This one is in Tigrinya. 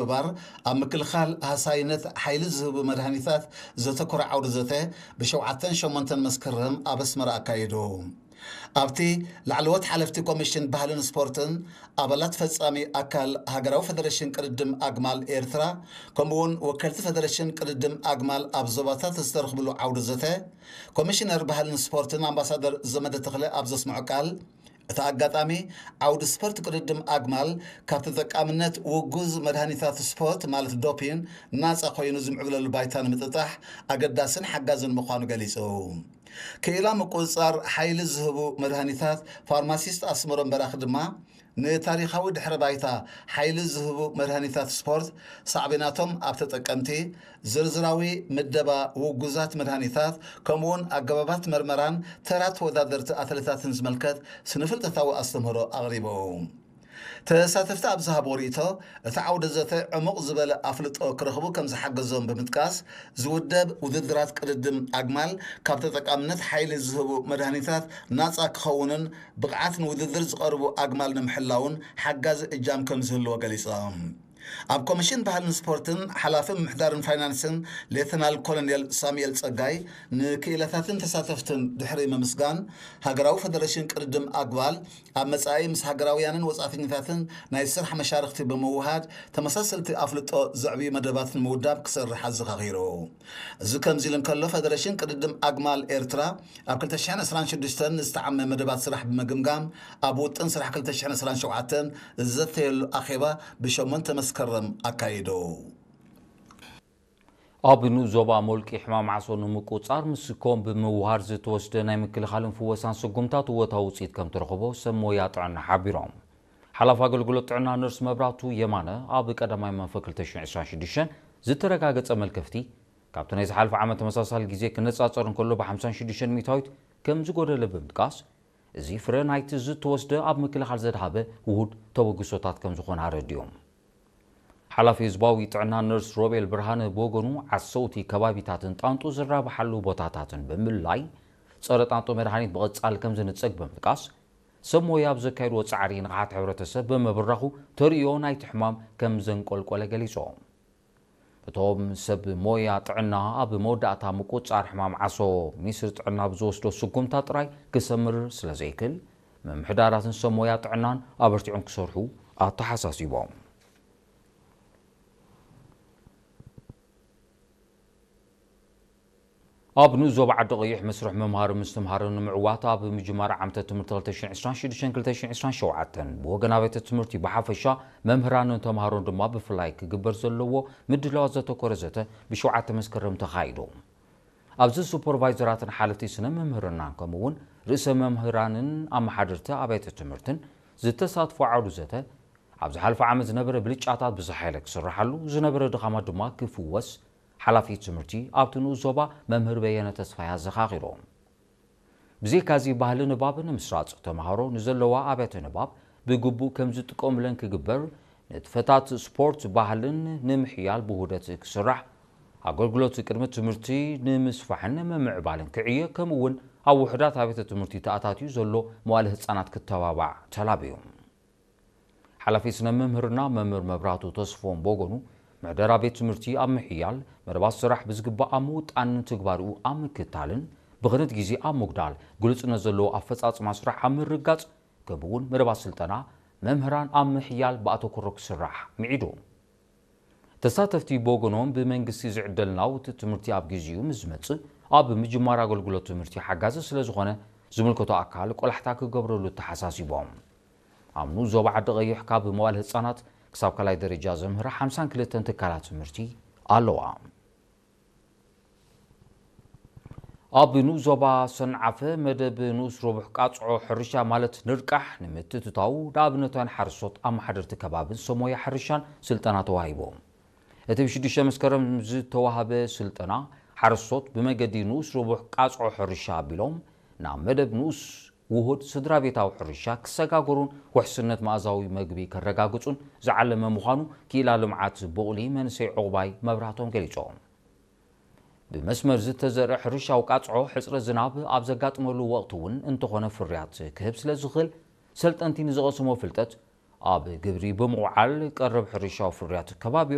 ብምግባር ኣብ ምክልኻል ሃሳይነት ሓይሊ ዝህቡ መድሃኒታት ዘተኮረ ዓውዲ ዘተ ብሸውዓተን ሸሞንተን መስከረም ኣብ ኣስመራ ኣካየዱ። ኣብቲ ላዕለዎት ሓለፍቲ ኮሚሽን ባህልን ስፖርትን፣ ኣባላት ፈጻሚ ኣካል ሃገራዊ ፈደረሽን ቅድድም ኣግማል ኤርትራ፣ ከምኡውን ወከልቲ ፈደረሽን ቅድድም ኣግማል ኣብ ዞባታት ዝተረኽብሉ ዓውዲ ዘተ፣ ኮሚሽነር ባህልን ስፖርትን ኣምባሳደር ዘመደ ተኽለ ኣብ ዘስምዖ ቃል፣ እቲ ኣጋጣሚ ዓውዲ ስፖርት ቅድድም ኣግማል ካብ ተጠቃምነት ውጉዝ መድሃኒታት ስፖርት ማለት ዶፒን ናጻ ኮይኑ ዝምዕብለሉ ባይታ ንምጥጣሕ ኣገዳስን ሓጋዝን ምዃኑ ገሊጹ። ክኢላ ምቁጽጻር ሓይሊ ዝህቡ መድሃኒታት ፋርማሲስት ኣስመሮም በራኺ ድማ ንታሪኻዊ ድሕረ ባይታ ሓይሊ ዝህቡ መድሃኒታት ስፖርት ሳዕቤናቶም ኣብ ተጠቀምቲ፣ ዝርዝራዊ ምደባ ውጉዛት መድሃኒታት ከምኡውን ኣገባባት መርመራን ተራ ተወዳደርቲ ኣትሌታትን ዝምልከት ስነፍልጠታዊ ኣስተምህሮ ኣቕሪቡ። ተሳተፍቲ ኣብ ዝሃብዎ ርእይቶ፣ እቲ ዓውደ ዘተ ዕሙቕ ዝበለ ኣፍልጦ ክረኽቡ ከም ዝሓገዞም ብምጥቃስ፣ ዝውደብ ውድድራት ቅድድም ኣግማል ካብ ተጠቃምነት ሓይሊ ዝህቡ መድሃኒታት ናጻ ክኸውንን ብቕዓት ንውድድር ዝቐርቡ ኣግማል ንምሕላውን ሓጋዚ እጃም ከም ዝህልዎ ገሊጾም። ኣብ ኮሚሽን ባህልን ስፖርትን ሓላፊ ምምሕዳርን ፋይናንስን ሌተናል ኮሎኔል ሳሙኤል ጸጋይ ንክኢላታትን ተሳተፍትን ድሕሪ ምምስጋን፣ ሃገራዊ ፈደረሽን ቅድድም ኣግማል ኣብ መጻኢ ምስ ሃገራውያንን ወጻእተኛታትን ናይ ስራሕ መሻርኽቲ ብምውሃድ ተመሳሰልቲ ኣፍልጦ ዘዕብዩ መደባት ንምውዳብ ክሰርሕ ኣዘኻኺሩ። እዚ ከምዚ ኢሉ እንከሎ፣ ፈደረሽን ቅድድም ኣግማል ኤርትራ ኣብ ክልተ ሽሕን ዕስራን ሽዱሽተን ዝተዓመ መደባት ስራሕ ብምግምጋም፣ ኣብ ውጥን ስራሕ ክልተ ሽሕን ዕስራን ሸውዓተን ዝዘተየሉ ኣኼባ ብሸሞንተ መስከረም ኣካይዱ። ኣብ ንኡስ ዞባ ሞልቂ ሕማም ዓሶ ንምቁጽጻር ምስ ኮም ብምውሃር ዝተወስደ ናይ ምክልኻልን ፍወሳን ስጉምታት እወታዊ ውጽኢት ከም ተረኽቦ ሰብ ሞያ ጥዕና ሓቢሮም። ሓላፊ ኣገልግሎት ጥዕና ነርስ መብራቱ የማነ ኣብ ቀዳማይ መንፈ ክልተ ሽሕን ዕስራን ሽዱሽተን ዝተረጋገጸ መልከፍቲ ካብቲ ናይ ዝሓለፈ ዓመት ተመሳሳሊ ግዜ ክነጻጸር እንከሎ ብ ሓምሳን ሽዱሽተን ሚእታዊት ከም ዝጎደለ ብምጥቃስ፣ እዚ ፍረ ናይቲ ዝተወስደ ኣብ ምክልኻል ዘድሃበ ውሁድ ተበግሶታት ከም ዝኾነ ኣረዲኦም። ሓላፊ ህዝባዊ ጥዕና ነርስ ሮቤል ብርሃነ ብወገኑ፣ ዓሰውቲ ከባቢታትን ጣንጡ ዝራብሓሉ ቦታታትን ብምልላይ፣ ጸረ ጣንጡ መድሃኒት ብቐጻሊ ከም ዝንጸግ ብምጥቃስ፣ ሰብ ሞያ ኣብ ዘካየድዎ ጻዕሪ ንቕሓት ሕብረተሰብ ብምብራኹ ተርእዮ ናይቲ ሕማም ከም ዘንቆልቆለ ገሊጾም። እቶም ሰብ ሞያ ጥዕና ኣብ መወዳእታ ምቁጽጻር ሕማም ዓሶ ሚኒስትሪ ጥዕና ብዝወስዶ ስጉምታ ጥራይ ክሰምር ስለ ዘይክል፣ ምምሕዳራትን ሰብ ሞያ ጥዕናን ኣበርቲዖም ክሰርሑ ኣተሓሳሲቦም። ኣብ ንኡስ ዞባ ዓዲ ቀይሕ መስርሕ ምምሃር ምስትምሃር ንምዕዋት ኣብ ምጅማር ዓመተ ትምህርቲ ክልተ ሽሕን ዕስራን ሽዱሽተን ክልተ ሽሕን ዕስራን ሸውዓተን ብወገን ኣብያተ ትምህርቲ ብሓፈሻ መምህራንን ተምሃሮን ድማ ብፍላይ ክግበር ዘለዎ ምድላዋት ዘተኮረ ዘተ ብሸውዓተ መስከረም ተኻይዱ። ኣብዚ ሱፐርቫይዘራትን ሓለፍቲ ስነ ምምህርናን ከምኡ እውን ርእሰ መምህራንን ኣመሓደርቲ ኣብያተ ትምህርትን ዝተሳትፎ ዓውዲ ዘተ፣ ኣብ ዝሓለፈ ዓመት ዝነበረ ብልጫታት ብዝሓይለ ክስራሓሉ፣ ዝነበረ ድኻማት ድማ ክፍወስ ሓላፊ ትምህርቲ ኣብቲ ንኡስ ዞባ መምህር በየነ ተስፋይ ኣዘኻኺሮም። ብዘይካዚ ባህሊ ንባብ ንምስራጽ ተምሃሮ ንዘለዋ ኣብያተ ንባብ ብግቡእ ከም ዝጥቀሙለን ክግበር፣ ንጥፈታት ስፖርት ባህልን ንምሕያል ብውህደት ክስራሕ፣ ኣገልግሎት ቅድሚ ትምህርቲ ንምስፋሕን ንምምዕባልን ክዕየ፣ ከምኡ እውን ኣብ ውሑዳት ኣብያተ ትምህርቲ ተኣታትዩ ዘሎ መዋለ ህጻናት ክተባባዕ ተላብዩ። ሓላፊ ስነ ምምህርና መምህር መብራቱ ተስፎም ብወገኑ፣ መሕደራ ቤት ትምህርቲ ኣብ ምሕያል፣ መደባት ስራሕ ብዝግባእ ኣብ ምውጣንን ትግባርኡ ኣብ ምክታልን፣ ብኽነት ግዜ ኣብ ምጉዳል፣ ግሉጽነት ዘለዎ ኣፈጻጽማ ስራሕ ኣብ ምርጋጽ፣ ከምኡ እውን መደባት ስልጠና መምህራን ኣብ ምሕያል ብኣተኩሮ ክስራሕ ምዒዱ። ተሳተፍቲ ብወገኖም፣ ብመንግስቲ ዝዕደል ናውቲ ትምህርቲ ኣብ ግዜኡ ምስ ዝመጽእ፣ ኣብ ምጅማር ኣገልግሎት ትምህርቲ ሓጋዚ ስለ ዝኾነ፣ ዝምልከቶ ኣካል ቆላሕታ ክገብረሉ ተሓሳሲቦም። ኣብ ንኡስ ዞባ ዓዲ ቀይሕ ካብ መዋል ህጻናት ክሳብ ካልኣይ ደረጃ ዘምህራ ሓምሳን ክልተን ትካላት ትምህርቲ ኣለዋ። ኣብ ንኡስ ዞባ ሰንዓፈ መደብ ንኡስ ረቡሕ ቃጽዖ ሕርሻ ማለት ንርቃሕ ንምትእትታው ንኣብነታውያን ሓረስቶት ኣመሓደርቲ ከባብን ሰብ ሞያ ሕርሻን ስልጠና ተዋሂቦም። እቲ ብሽዱሽተ መስከረም ዝተዋህበ ስልጠና፣ ሓረስቶት ብመገዲ ንኡስ ረቡሕ ቃጽዖ ሕርሻ ኣቢሎም ናብ መደብ ንኡስ ውሁድ ስድራ ቤታዊ ሕርሻ ክሰጋገሩን ውሕስነት መኣዛዊ መግቢ ከረጋግጹን ዝዓለመ ምዃኑ ክኢላ ልምዓት ቡቕሊ መንእሰይ ዑቕባይ መብራህቶም ገሊጾም። ብመስመር ዝተዘርአ ሕርሻዊ ቃጽዖ ሕጽረት ዝናብ ኣብ ዘጋጥመሉ ወቕቲ እውን እንተኾነ ፍርያት ክህብ ስለ ዝኽእል፣ ሰልጠንቲ ንዝቐስሞ ፍልጠት ኣብ ግብሪ ብምውዓል ቀረብ ሕርሻዊ ፍርያት ከባቢ